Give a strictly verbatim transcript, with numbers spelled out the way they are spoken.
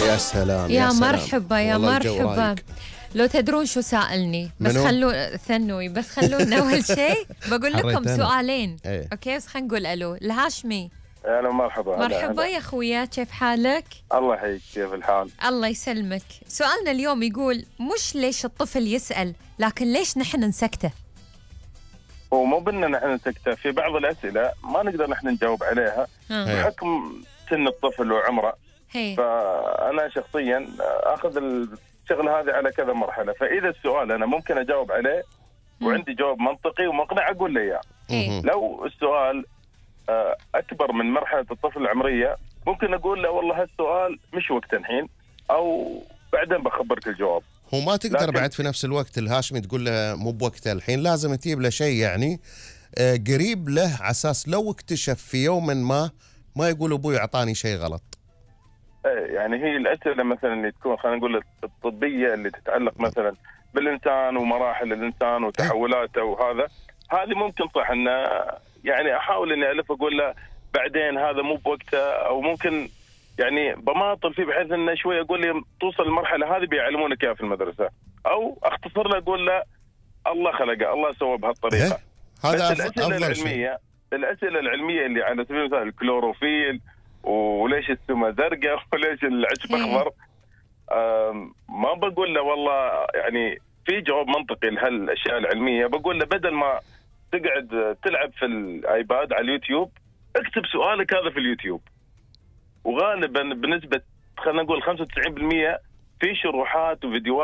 يا سلام يا, يا سلام. مرحبا يا مرحبا. لو تدرون شو سألني بس خلوا ثنوي بس خلونا أول شيء بقول لكم سؤالين. ايه. أوكي بس خلينا نقول ألو. الهاشمي أهلا مرحبا. مرحبا يا خويا، كيف حالك؟ الله يحييك، كيف الحال؟ الله يسلمك. سؤالنا اليوم يقول مش ليش الطفل يسأل لكن ليش نحن نسكته. هو مو بأننا نحن نسكته، في بعض الأسئلة ما نقدر نحن نجاوب عليها بحكم سن الطفل وعمره. هي. فأنا شخصيا أخذ الشغل هذه على كذا مرحلة، فإذا السؤال أنا ممكن أجاوب عليه وعندي جواب منطقي ومقنع أقول له إياه. لو السؤال أكبر من مرحلة الطفل العمرية ممكن أقول له والله هالسؤال مش وقته الحين، أو بعدين بخبرك الجواب. هو ما تقدر بعد في نفس الوقت الهاشمي تقول له مو بوقته الحين، لازم تجيب له شيء يعني قريب له على أساس لو اكتشف في يوم ما ما يقول أبوي أعطاني شيء غلط. يعني هي الأسئلة مثلا اللي تكون خلينا نقول الطبية اللي تتعلق مثلا بالإنسان ومراحل الإنسان وتحولاته وهذا، هذه ممكن صح إنه يعني أحاول إني ألف أقول له بعدين هذا مو بوقته، أو ممكن يعني بماطل فيه بحيث إنه شوي أقول لي توصل المرحلة هذه بيعلمونك إياها في المدرسة، أو أختصر له أقول له الله خلقه الله سوى بهالطريقة. هذا الأسئلة العلمية الأسئلة العلمية اللي على سبيل المثال الكلوروفيل وليش السما زرقاء وليش العشب أخضر، ما بقول له والله يعني في جواب منطقي لهالأشياء العلمية. بقول له بدل ما تقعد تلعب في الآيباد على اليوتيوب اكتب سؤالك هذا في اليوتيوب، وغالبا بنسبة خلينا نقول خمسة وتسعين بالمئة في شروحات وفيديوهات